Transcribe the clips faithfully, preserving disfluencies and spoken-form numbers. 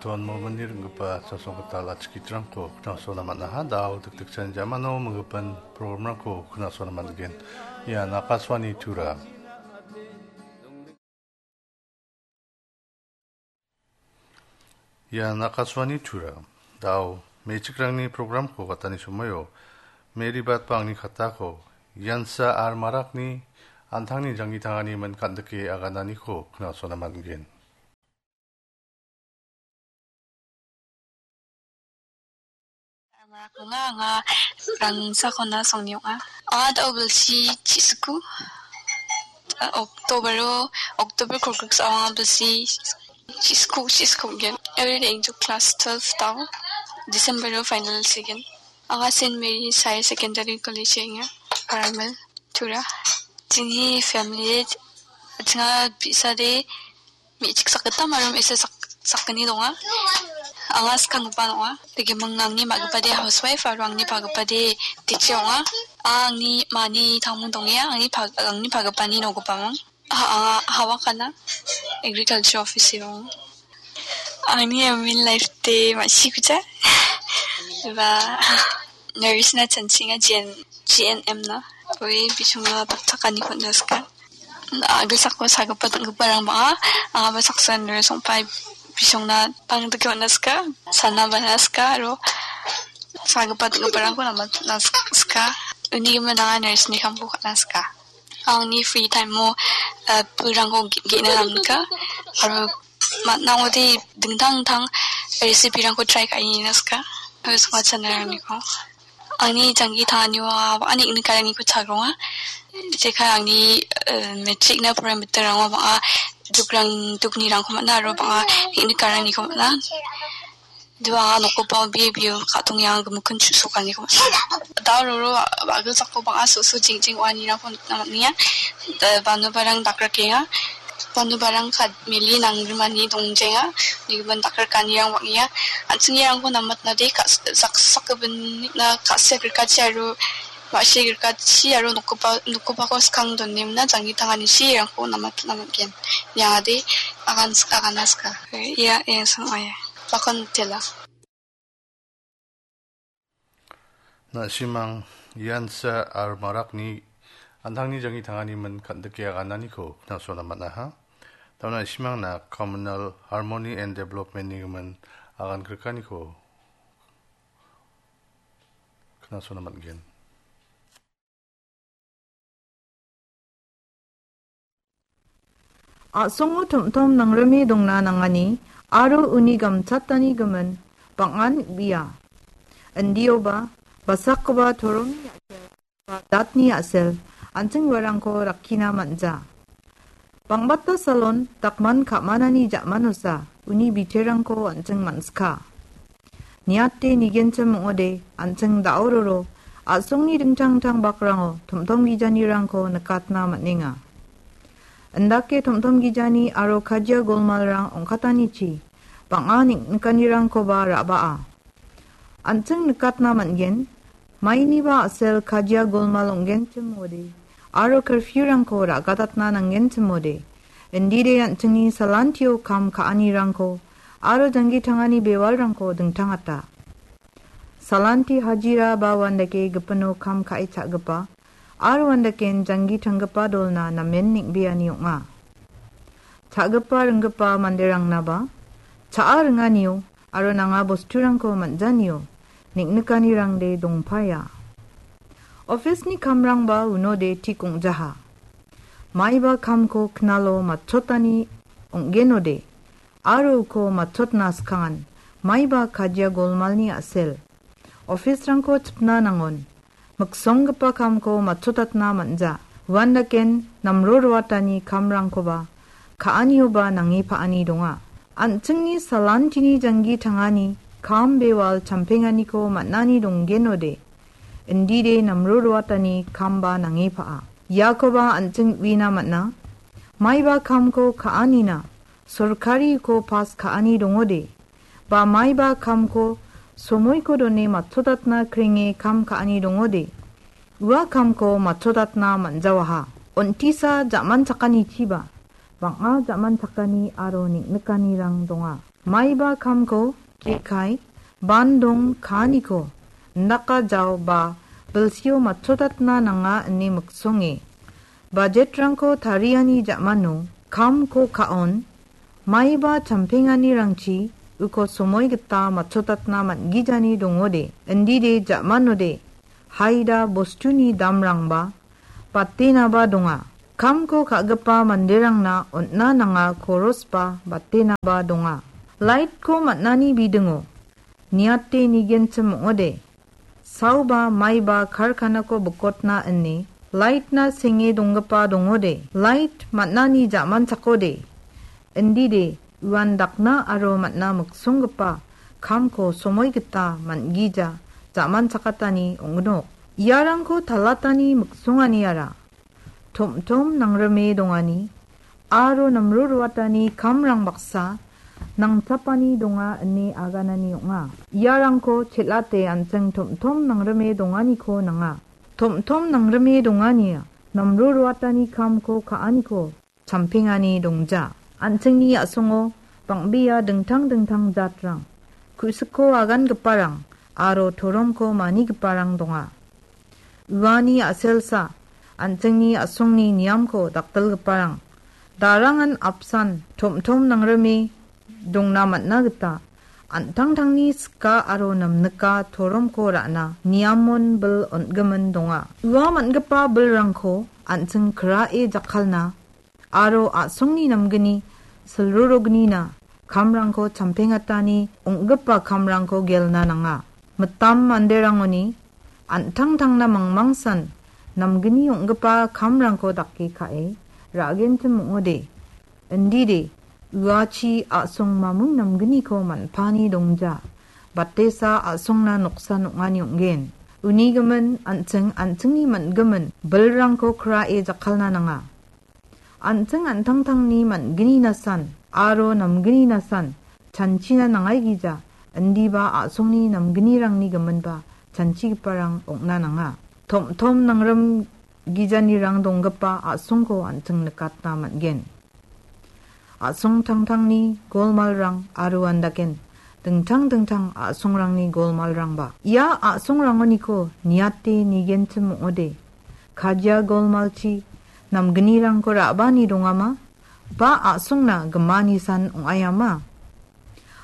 Ton momini ringgipa chasonggital achikitrangko knasona man·aha. Dao dikdikchan jamano minggipan programrangko knasona man·gen. Ian Akashvani Tura. Ian Akashvani Tura. Dao, me·chikrangni programko gatani somoio, Mary Batbangni katako, Iansa R Marakni an·tangni janggi tangani min kan·dike agananiko knasona man·gen. Anga, anga Rangsakona Songni ong·a. Anga da·o bilsi chi·sku. October-o, October kolgrik sa anga bilsi chi·sku, chi·sku gen. Every day into class twelve tau. December-o final sigen. Anga Saint Mary's Higher Secondary College enga. Paramel, Tura. Jingni family, jinga bi·sade me·chik sakgittam aro me·sa sak-, sakgni donga. Anga skanggipa ong·a. Dake ming-, angni ma·gipade housewife aro angni pagipade teacher ong·a. Angni mani tamung dongenga, angni pag-, angni pagipani nogipamang. Ha-, anga hawakana agriculture office ong·a. Angni aim in life de ma·sikuja. Ba, nurse na chanchinga G N, G N M na. Ue bisongna dakchakani konjaska. Agilsako sagipa dinggiparang bang·a. Angaba saksa nurse ong·pai bisongna pangdike on·aska. Sana banaska aro sagipa dinggiparangko namatnaska. Uni gimin anga nurse ni kamko ka·naska. Angni free time-o, eh, pulrangko ge-, ge·na namnika. Aro man·a ong·ode dingtang dingtang recipe-rangko try ka·e nina sika. Aro songcha chanarangko. Angni janggi tanganio, ah, bang·a neng·nikarangko chagronga. Jekai angni, eh, matric-na poraimittirango bang·a dukrang, duknirangko man·a aro bang·a neng·nikarangko man·a. Dua nokgipa bibio ka·tongni anga gimikin chu·sokaniko. Dao roro a-, a·gilsako bang·a so·so jing·jing wa·anirangko nikna man·enga. Da-, banubarang dakrikenga. Banubarang kad-, mili nanggrimani dongjenga. Nigimin dakrikanirang bang·enga. An·ching iarangko namatnade ka-, sak-, sakgipinna ka·sia grikachi aro ma·si grikachi aro nokgipa, nokgipako skang donemna janggi tanganichi iarangko namatna man·gen. Iade agan sk-, agana ska. Ia, ia, sang, ia. Bakon tela. Na·simang Iansa R Marakni an·tangni janggi tangani min kan·dike agananiko knasona man·aha. Tauna na·simangna Communal Harmony and Development-ni gimin agan grikaniko knasona man·gen. A·songo tom·tom nangrime dongna nangani aro uni gamchatani gimin bang·an bia. Indioba basakgipa toromni a·sel ba datni a·sel an·ching uarangko rakkina man·ja. Bangbata salon dakman ka·manani ja·manosa uni biterangko an·ching man·sika. Niate nigenchim ong·ode, an·ching da·ororo a·songni dingtang dingtang bakrango tom·tom gijanirangko nikatna man·enga. Indake tom·tom gijani aro kajia golmalrang ong·katanichi bang·a neng·nikanirangkoba ra·baa. An·ching nikatna man·gen, mainiba a·sel kajia golmal ong·genchim ong·ode, aro curfew-rangko ra·gatatna nanggenchim ong·ode, indide an·chingni salantio kam ka·anirangko aro janggi tangani bewalrangko dingtangata. Salanti hajira ba uandake gipino kam ka·e cha·gipa aro uandaken janggi tanggipa dolna namen neng·beani ong·a. Cha·gipa ringgipa manderangnaba cha·a ringanio aro nanga bosturangko man·janio neng·nikanirangde dongpaia. Office-ni kamrangba unode tik ong·jaha. Maiba kamko knalo matchotani ong·genode, aro uko matchotna skangan, maiba kajia golmalni a·sel. Office-rangko chipna nangon. Miksonggipa kamko matchotatna man·ja. Uandaken namro roatani kamrangkoba ka·anioba nange pa·ani donga. An·chingni salantini janggi tangani kam bewal champenganiko man·ani donggenode, indide namro roatani kamba nange pa·a. Iakoba an·ching uina man·a. Maiba kamko ka·anina sorkariko pas ka·ani dongode, ba maiba kamko somoiko done matchotatna krenge kam ka·ani dongode, ua kamko matchotatna man·jawaha. On·tisa ja·manchakanichiba bang·a ja·manchakani aro neng·nikanirang donga. Maiba kamko kekai, bandong kaaniko, indaka jao ba bilsio matchotatna nanga ine miksonge. Bajetrangko tariani ja·mano kamko ka·on, maiba champenganirangchi uko somoi gita matchotatna man·gijani dongode, indide ja·manode, haida bostuni damrangba batenaba donga. Kamko ka·gipa manderangna on·na nanga korosba batenaba donga. Laitko man·ani bidingo niate nigenchim ong·ode. Saoba maiba karkanako bikotna ine laitna senge donggipa dongode. Lait man·ani ja·manchakode. Indide uan dakna aro man·a miksonggipa kamko somoi gita man·gija ja·manchakatani ong·gnok. Iarangko talatani miksonganiara tom·tom nangrime dongani aro namro ruatani kamrang baksa nangchapani donga ine aganani ong·a. Iarangko chel·ate an·ching tom·tom nangrime donganiko nanga. Tom·tom nangrime dongania namro ruatani kamko ka·aniko champengani dongja. An·chingni a·songo bang·bea dingtang dingtang jatrang, ku·sikko agangiparang aro toromko manigiparang donga. Uani a·selsa, an·chingni a·songni niamko dakdilgiparang, darangan apsan tom·tom nangrime dongna man·a gita, an·tangtangni sika aro namnika toromko ra·na niamon bil on·gimin donga. Ua man·gipa bilrangko an·ching krae jakkalna aro a·songni namgni silrorognina kamrangko champengatani ong·gipa kamrangko gelna nanga. Mitam manderangoni an·tangtangna mangmangsan namgni ong·gipa kamrangko dake ka·e ra·genchim ong·ode. Indide, uachi a·song mamung namgniko man·pani dongja. Batesa a·songna noksan ong·ani ong·gen. Unigimin an·ching an·chingni man·gimin bilrangko krae jakkalna nanga. An·ching an·tangtangni man·gninasan aro namgninasan chanchina nangaigija, indiba a·songni namgnirangni giminba chanchigiparang ong·na nanga. Tom·tom nangrim gijanirang donggipa a·songko an·ching nikatna man·gen. A·song tangtangni golmalrang aro andaken dingtang dingtang a·songrangni golmalrangba. Ia a·songrangoniko niate nigenchim ong·ode. Kajia golmalchi namgnirangko ra·bani dongama? Ba a·songna gimanisan ong·aiama?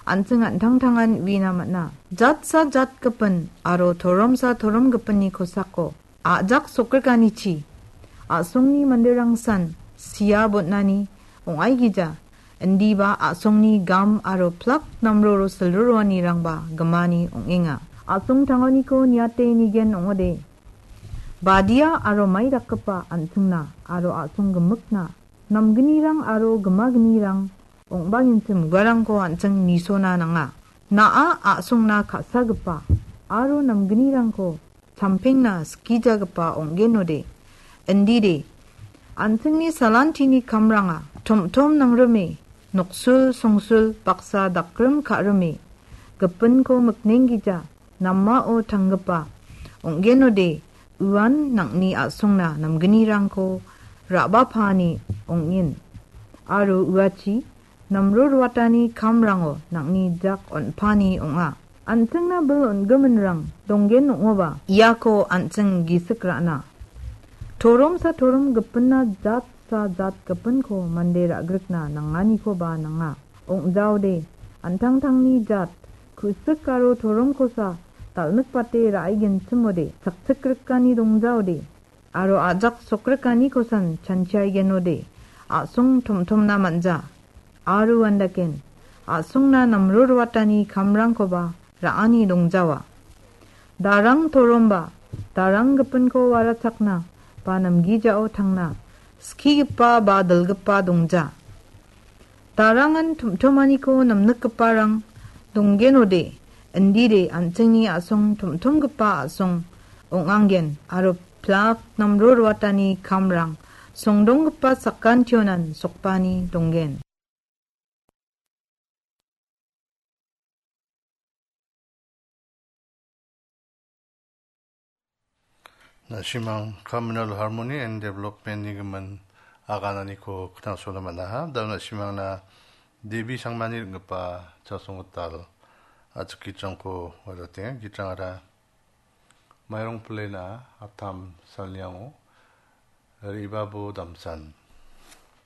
An·ching an·tangtangan uina man·a. Jatsa jatgipin aro toromsa toromgipinni kosako a·jak sokriganichi a·songni manderangsan sia bon·ani ong·aigija, indiba a·songni gam aro plak namroro silroroanirangba gimani ong·enga. A·song tangoniko niate nigen ong·ode. Badia aro mai dakgipa an·chingna aro a·song gimikna namgnirang aro gimagnirang ong·baginchim uarangko an·ching nisona nanga. Na·a a·songna ka·sagipa aro namgnirangko champengna skijagipa ong·genode. Indide, an·chingni salantini kamranga tom·tom nangrime, noksul songsul baksa dakrim ka·rime, gipinko miknenggija namao tanggipa ong·genode, uan nang·ni a·songna namgnirangko ra·bapani ong·en. Aro uachi namro ruatani kamrango nang·ni jak on·pani ong·a. An·chingna bil on·giminrang donggen ong·oba, iako an·ching gisik ra·na. Toromsa torom gipinna jatsa jat gipinko mande ra·grikna nanganikoba nanga. Ong·jaode, an·tangtangni jat, ku·sik aro toromkosa dal·mikbate ra·aigenchimode, chakchikrikani dongjaode, aro a·jak sokrikanikosan chanchiaigenode, a·song tomtomna man·ja. Aro andaken, a·songna namro ruatani kamrangkoba ra·ani dongjawa. Darang toromba, darang gipinko warachakna ba namgijao tangna, skigipa ba dilgipa dongja. Darangan tomtomaniko namnikgiparang donggenode, indide an·chingni a·song tomtomgipa a·song ong·angen aro plak namro ruatani kamrang songdonggipa sakantionan sokbani donggen. Na·simang Communal Harmony and Development-ni gimin agananiko knasona man·aha. Da·o na·simangna Devi Sangmani ring·gipa Chasonggital a·chik gitrangko wajatenga. Gitrangara Mairong Plena Aptam salniango Re·babo Damsan